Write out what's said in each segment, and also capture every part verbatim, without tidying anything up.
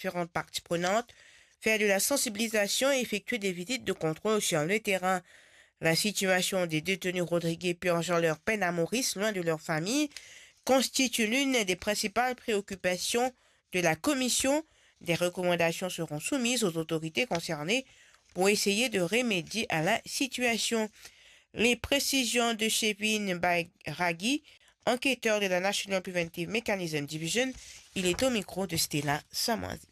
différentes parties prenantes, faire de la sensibilisation et effectuer des visites de contrôle sur le terrain. La situation des détenus rodriguais purgeant leur peine à Maurice, loin de leur famille, constitue l'une des principales préoccupations de la commission. Des recommandations seront soumises aux autorités concernées pour essayer de remédier à la situation. Les précisions de Chevin Bairagi, enquêteur de la National Preventive Mechanism Division, il est au micro de Stella Samoizi.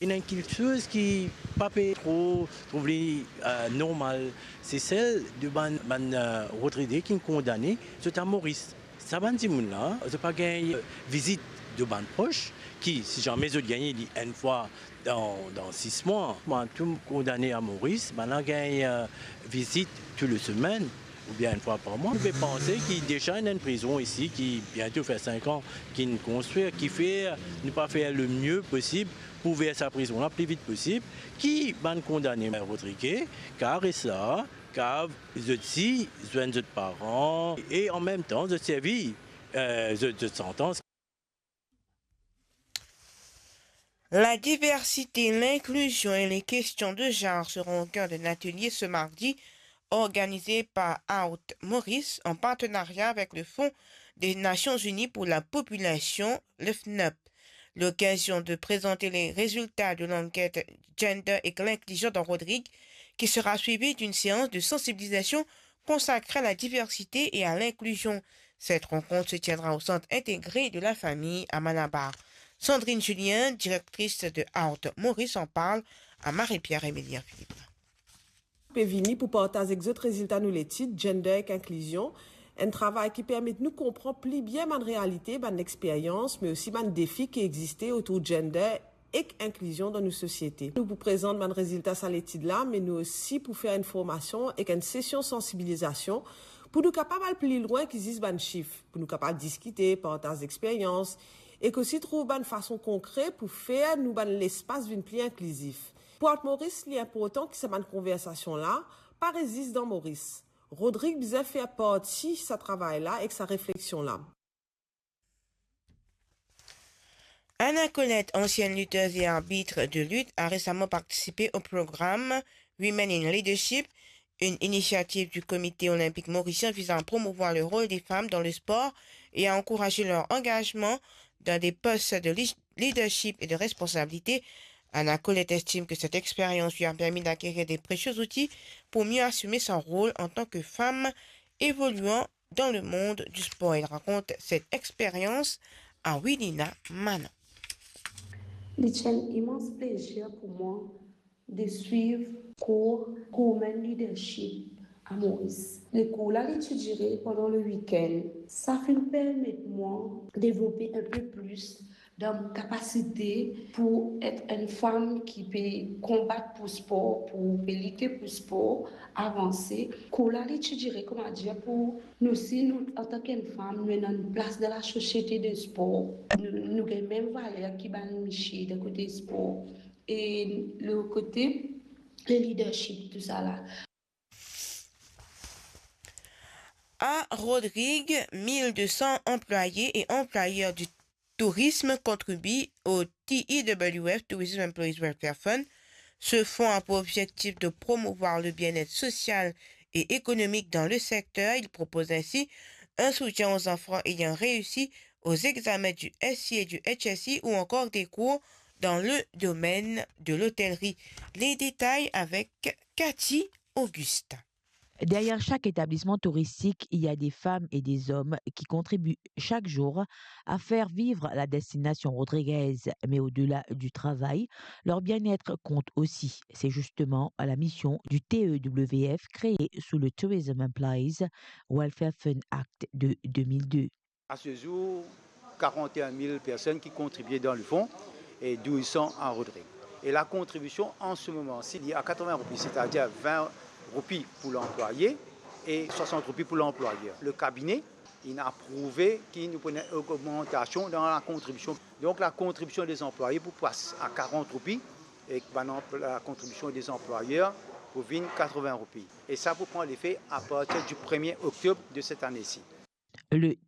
Ena enn kiksoz ki pa pe tro trouv li, eh, normal. Sesel, de bann, bann, eh, Rodrige ki'nn kondane, zot a Moris. Sa bann dimoun la, zot pa gagn, eh, vizit de bann pros ki, si zame zot gagn li enn fwa dan, dan sis mwa, bann tou kondane a Moris, bann la gagn, eh, vizit tou le semenn oubien enn fwa par mwa. Nou pe panse ki deza ena enn prizon isi ki biento fer sink an ki'nn konstrir, kifer nou pa fer lemie posib pou ouver sa prizon la pli vit posib, ki bann kondane Rodrige kav res la, kav zot si zwenn zot paran e an mem tan zot servi, eh, zot, zot santans. La diversité, l'inclusion et les questions de genre seront au cœur d'un atelier ce mardi organisé par Out Maurice en partenariat avec le Fonds des Nations Unies pour la population, le FNUP. L'occasion de présenter les résultats de l'enquête Gender et l'inclusion dans Rodrigues, qui sera suivie d'une séance de sensibilisation consacrée à la diversité et à l'inclusion. Cette rencontre se tiendra au centre intégré de la famille à Malabar. Sandrine Julien, directrice de Out Maurice, en parle à Marie-Pierre Emilien Philippe. Pe vini pou partaz ek zot rezilta nou letid Gender ek Inklizion, enn travay ki permet nou konpran pli bien bann realite, bann experyans, me osi bann defi ki existe otour gender ek inklizion dan nou sosiete. Nou pou prezant bann rezilta sa letid la, me nou osi pou fer enn formasion ek enn sesion sansibilizasion pou nou kapav al pli lwin ki zis bann sif, pou nou kapav diskite, partaz experyans, ek osi trouv bann fason konkre pou fer nou bann lespas vinn pli inklizif. Pou Out Maurice, li inportan ki sa bann konversasion la pa res zis dan Moris. Rodrig bizin fer parti sa travay la ek sa refleksion la. Anna Colette, ancienne lutteuse et arbitre de lutte, a récemment participé au programme Women in Leadership, une initiative du Comité olympique mauricien visant à promouvoir le rôle des femmes dans le sport et à encourager leur engagement dans des postes de li-, leadership et de responsabilité. Anna Colette estime que cette expérience lui a permis d'acquérir des précieux outils pour mieux assumer son rôle en tant que femme évoluant dans le monde du sport. Elle raconte cette expérience à Wilina Manon. Li ti enn imans plezir pou mwa de swiv kour Women Leadership a Moris. Lekour la, li ti dire pandan le wikenn. Sa finn permet mwa devlope enn pe plis dan mo kapasite pou et enn fam ki pe konbat pou spor, pou pe lite pou spor, avanse. Kour la, li ti dire, kouma dir, pou nou si nou, antan ki enn fam, nou ena enn plas dan lasosiete de spor. Nou, nou gagn mem valer ki bann misie dan kote spor. E lot kote, le leadership, tousala. À Rodrigues, mille deux cents employés et employeurs du tourisme contribuent au T E W F, Tourism Employees Welfare Fund. Ce fonds a pour objectif de promouvoir le bien-être social et économique dans le secteur. Il propose ainsi un soutien aux enfants ayant réussi aux examens du S C I et du H S I ou encore des cours dans le domaine de l'hôtellerie. Les détails avec Cathy Augustin. Derrière chaque établissement touristique, il y a des femmes et des hommes qui contribuent chaque jour à faire vivre la destination rodriguaise. Mais au-delà du travail, leur bien-être compte aussi. C'est justement la mission du T E W F, créée sous le Tourism Employees Welfare Fund Act de deux mille deux. À ce jour, quarante et un mille personnes qui contribuaient dans le fonds et douze cents à Rodrigues. Et la contribution en ce moment-ci, elle est à quatre-vingts roupies, c'est-à-dire vingt roupies pour l'employé et soixante roupies pour l'employeur. Le cabinet, il a approuvé qu'il nous prenait une augmentation dans la contribution. Donc la contribution des employés pour passer à quarante roupies et la contribution des employeurs pour venir quatre-vingts roupies. Et ça pour prendre l'effet à partir du premier octobre de cette année-ci. Le